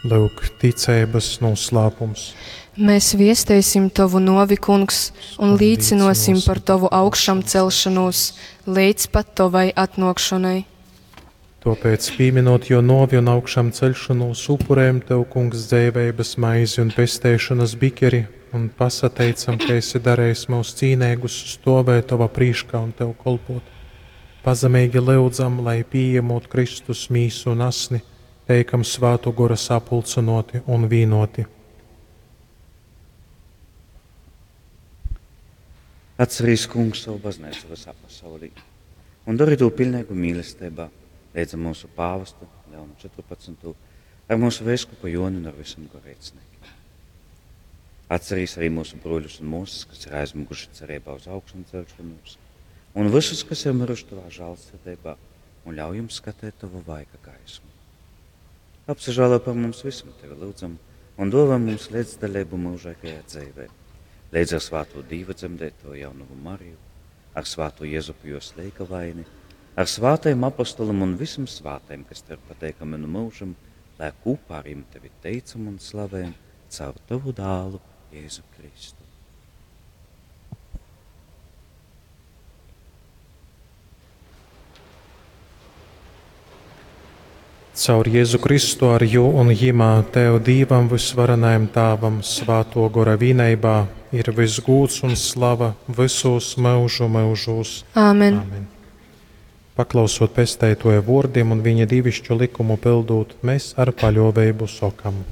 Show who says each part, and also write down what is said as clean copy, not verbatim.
Speaker 1: Lyuk, ticeibas noslēpums.
Speaker 2: Mēs viesteisim Tavu novi, Kungs, un līcinosim par Tavu augšām celšanos līdz pat Tavai atnākšanai.
Speaker 1: Tāpēc, pieminot jo novi un augšām celšanos, upurējam Tev, Kungs, dzeiveibas maizi un pesteišanas bikeri, un pasateicam, ka esi darījis mūs cīnīgus stovēt Tava prīškā un Tev kolpot. Pazemīgi lyudzam, lai pieņemot Kristus mīsu un asni, teikam svātu gora sapulcinoti un vīnoti.
Speaker 3: Atcerīs, kungs, savu baznīcu visā pasaulī un dari to pilnīgu mīlestībā, līdz ar mūsu pāvestu Leonu 14., ar mūsu veiskupu Joni un ar visiem garīdzniekiem. Atcerīs arī mūsu bruļus un mūsas, kas ir aizmuguši cerībā uz augšām celšanos, un visus, kas ir miruši tavā žēlsirdībā, un ļauj jums skatīt tavu vaiga gaismu. Apsažālo par mums visam tevi lūdzam un dāvā mums līdzdalību mūžīgajā dzīvē. Līdz ar svāto Dīva dzemdēto jaunavu Mariju, ar svāto Jēzupu jo sleikavaini, ar svātajiem apostolam un visam svātajiem, kas tev pateikami no mūžam, lai kopā ar jiem tevi teicam un slavējam caur tavu dālu Jēzu Kristu.
Speaker 1: Caur Jēzu Kristu ar jū un jimā Tev Dīvam vysvarenajam Tāvam svāto gora vīneibā ir viss gūds un slava visos mūžu mūžos.
Speaker 2: Āmen.
Speaker 1: Amen. Paklausot pesteitoja vārdiem un viņa divišķu likumu pildot, mēs ar paļāvību sokam.